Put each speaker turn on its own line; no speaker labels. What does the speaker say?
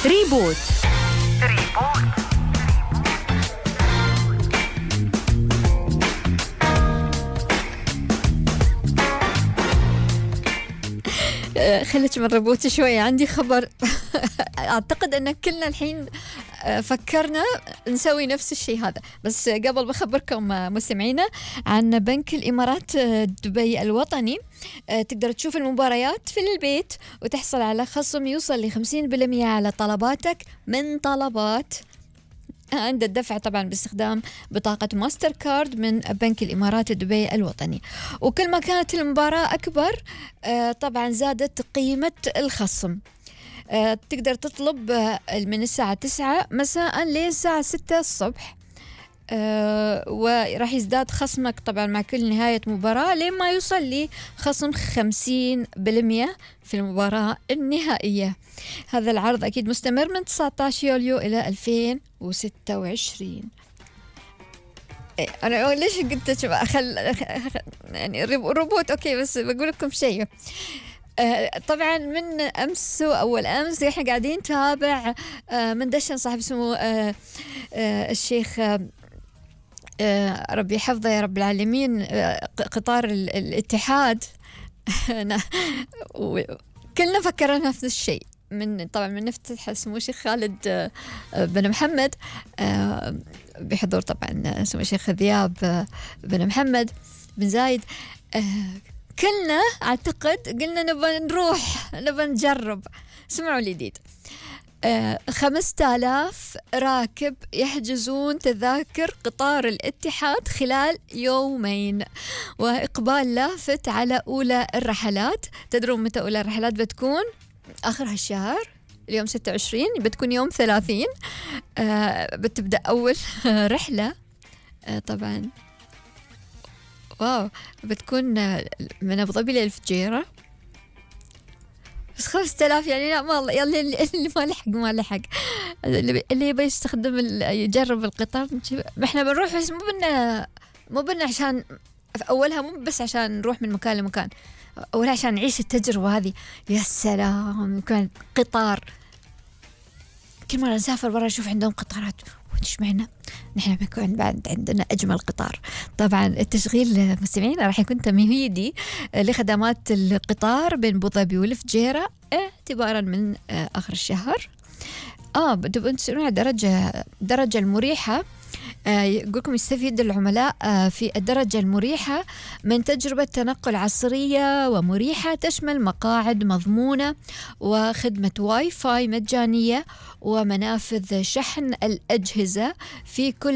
ريبوت. خليك من ريبوت شوي، عندي خبر. أعتقد أن كلنا الحين فكرنا نسوي نفس الشيء هذا، بس قبل بخبركم مستمعينا عن بنك الإمارات دبي الوطني. تقدر تشوف المباريات في البيت وتحصل على خصم يوصل ل50% على طلباتك من طلبات عند الدفع، طبعا باستخدام بطاقة ماستر كارد من بنك الإمارات دبي الوطني. وكل ما كانت المباراة أكبر طبعا زادت قيمة الخصم. تقدر تطلب من الساعة 9 مساء للساعة 6 الصبح، وراح يزداد خصمك طبعا مع كل نهاية مباراة لما يوصل لخصم 50% في المباراة النهائية. هذا العرض أكيد مستمر من 19 يوليو إلى 2026. أنا ليش قلت يعني روبوت أوكي، بس بقول لكم شيء. طبعا من أمس وأول أمس إحنا قاعدين نتابع من دشن صاحب اسمه الشيخ ربي حفظه يا رب العالمين، قطار الاتحاد. كلنا فكرنا نفس الشيء، طبعا من نفتح اسمه الشيخ خالد بن محمد بحضور طبعا اسمه الشيخ ذياب بن محمد بن زايد. كلنا أعتقد قلنا نبغى نروح نبغى نجرب. اسمعوا الجديد، 5000 راكب يحجزون تذاكر قطار الاتحاد خلال يومين، وإقبال لافت على أولى الرحلات. تدرون متى أولى الرحلات بتكون؟ آخر هالشهر، اليوم 26، بتكون يوم 30 بتبدأ أول رحلة. طبعا واو، بتكون من أبو ظبي للفجيرة، بس 5000 يعني لا ما يلا اللي ما لحق اللي يبي يستخدم يجرب القطار. احنا بنروح بس مو بنا عشان في أولها، مو بس عشان نروح من مكان لمكان، أولها عشان نعيش التجربة هذه. يا سلام، كان قطار كل مرة نسافر برا نشوف عندهم قطارات، وش معنا نحن بيكون بعد عندنا أجمل قطار. طبعا التشغيل مستمعين راح يكون تمهيدي لخدمات القطار بين أبو ظبي والفجيرة اعتبارا من آخر الشهر. بدأوا تسألون على درجة المريحة. يقولكم يستفيد العملاء في الدرجة المريحة من تجربة تنقل عصرية ومريحة تشمل مقاعد مضمونة وخدمة واي فاي مجانية ومنافذ شحن الأجهزة في كل